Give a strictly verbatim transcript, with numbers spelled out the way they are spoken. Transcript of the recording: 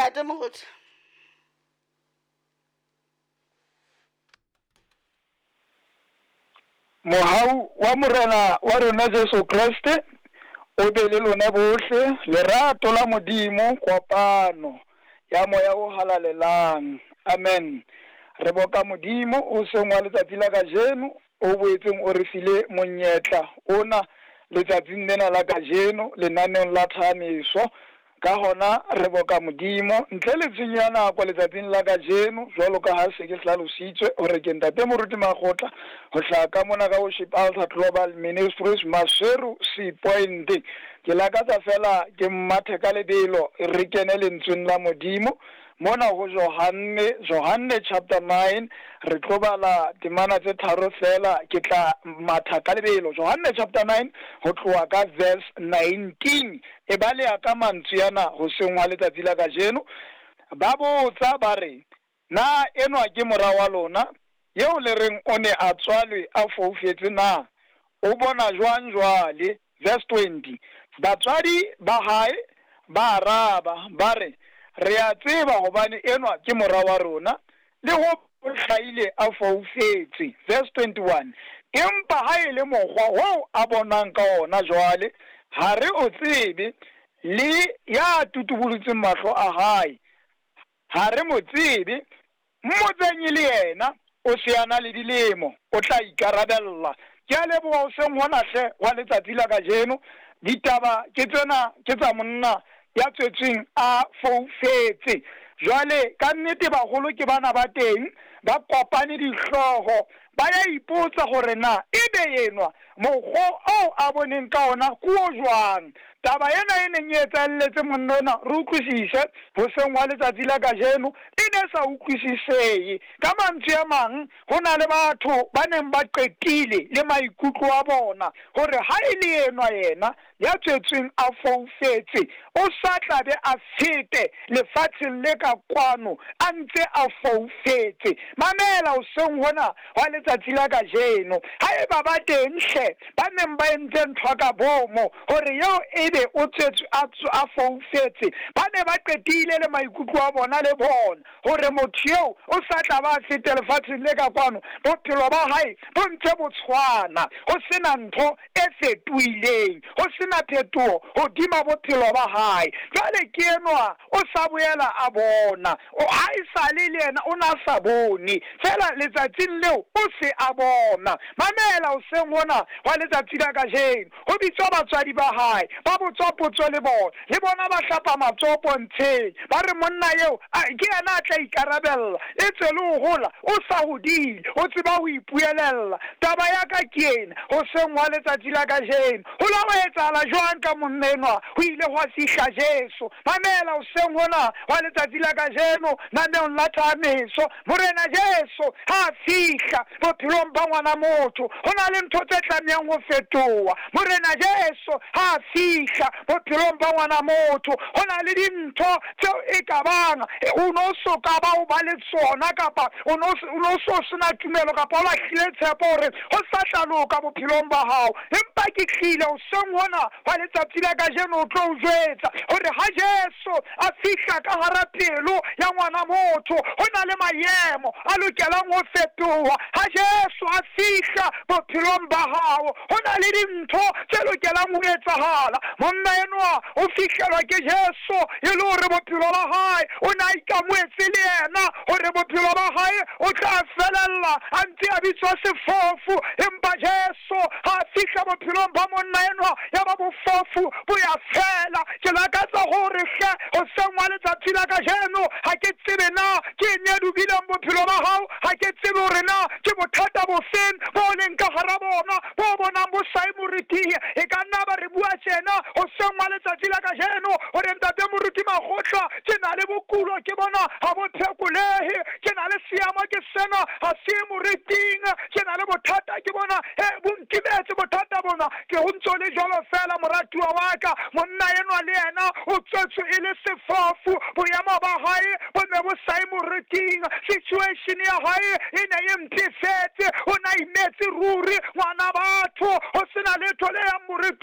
Ntate Moruti. Mohau wa Morena wa rona Jesu Kreste o be le lona bohle, lerato la Modimo, kopano ya Moya o Halalelang. Amen. Re boka Modimo o seng wa letsatsi la kajeno, o boetseng o re file monyetla ona letsatsing lena la kajeno lenaneong la Thahamiso. Ka hona re boka Modimo ntle le tshenyo ya nako letsatsing la kajeno, jwalo ka ha se ke hlalositswe hore ke Ntate Moruti Makgotla ho hlaha ka mona ka Worship Altar Global Ministries, Maseru Sea Point. Ke lakatsa fela ke mmathe ka lebelo re kene lentsweng la Modimo mona ho Johanne, Johanne chapter nine, re tlo bala temana tse tharo fela, ke tla matha ka lebelo. Johanne chapter nine ho tloha ka verse nineteen, e baleha ka mantswe ana hoseng hwa letsatsi la kajeno. Ba botsa ba re, na enwa ke mora wa lona eo le reng o ne a tswalwe a foufetse na? O bona jwang jwale? Verse twenty, batswadi ba hae ba araba ba re, re a tseba hobane enwa ke mora wa rona, le ho hlahile a foufetse. Verse twenty-one, empa ha e le mokgwa oo a bonang ka ona jwale, ha re o tsebe, le ya tutubolotseng mahlo a hae ha re mo tsebe. Mmotseng le yena, o se a na le dilemo, o tla ikarabella. Ke a leboha hoseng hona hle wa letsatsi la kajeno. Ditaba ke tsena, ke tsa monna ya tswetsweng a foufetse. Jwale ka nnete baholo ke bana ba teng, ba kopane dihlooho, ba ya ipotsa hore na ebe enwa mokgwa oo a boneng ka ona ke o jwang. Taba ena e neng e etsahelletse monna ona, re utlwisise hoseng hwa letsatsi la kajeno, e ne sa utlwisisehe. Ka mantswe a mang, ho na le batho ba neng ba qetile le maikutlo a bona hore ha e le enwa yena ya tswetsweng a foufetse, o sa tla be a fete lefatsheng le ka kwano a ntse a foufetse. Mamela hoseng hona hwa letsatsi la kajeno, haeba ba teng hle ba neng ba entse ntho ka bomo hore eo ebe o tswetswe a foufetse, ba ne ba qetile le maikutlo a bona le bona hore motho eo o sa tla ba fete lefatsheng le ka kwano, bophelo ba hae bo ntse bo tshwana, ho sena ntho e fetohileng, ho sena phetoho hodima bophelo ba hae. Jwale ke enwa o sa boela a bona, ha e sale le yena o na sa bone, fela letsatsing leo o se a bona. Mamela hoseng hona hwa letsatsi la kajeno, ho bitswa batswadi ba hae, ba botswa potso le bona, le bona ba hlapa matsoho pontsheng, ba re monna eo ke yena a tla ikarabella, e tswe le ho hola o sa hodile, o tseba ho ipuelella. Taba ya ka ke ena hoseng hwa letsatsi la kajeno, ho la ho etsahala jwang ka monna enwa? Ho ile hwa fihla Jesu. Mamela hoseng hona hwa letsatsi la kajeno naneong la Thahamiso, Morena Jesu ha fihla bophelong ba ngwana motho, ho na le ntho tse tlamehang ho fetoha. Morena Jesu ha fihla bophelong ba ngwana motho, ho na le dintho tseo e ka bang o no so ka ba o ba le tsona, kapa o no so sena tumelo, kapa o lahlile tshepo hore ho sa tla loka bophelong ba hao. Empa ke tlile hoseng hona hwa letsatsi la kajeno o tlo o jwetsa hore ha Jesu a fihla ka hara pelo ya ngwana motho, ho na le maemo a lokelang ho fetoha. Ha Jesu a fihla bophelong ba hao, ho na le dintho tse lokelang ho etsahala. Monna enwa o fihlelwa ke Jesu e le hore bophelo ba hae o na ikamoetse le yena, hore bophelo ba hae o tla felella a ntse a bitswa sefofu. Empa Jesu ha fihla bophelong ba monna enwa, ya ba bofofu bo ya fela. Ke lakatsa hore hle hoseng hwa letsatsi la kajeno, ha ke tsebe na ke eng e dubileng bophelo ba hao, ha ke tsebe hore na ke bothata bofeng bo leng ka hara bona bo bonang bo sa e moriting. E ka nna ba re bua tjena hoseng hwa letsatsi la kajeno hore Ntate Moruti Makgotla, ke na le bokulo, ke bona ha bo phekolehe, ke na le seemo ke sena ha se moriting, ke na le bothata ke bona he bo nkimetse bothata bona. Ke ho ntso le jwalo fela moratuwa wa ka, monna enwa le yena o tswetswe e le sefofu, boemo ba hae bo ne bo sa e moriting, situation ya hae e ne e mpefetse, o na imetse ruri ngwana batho, ho sena letho le yang moriting.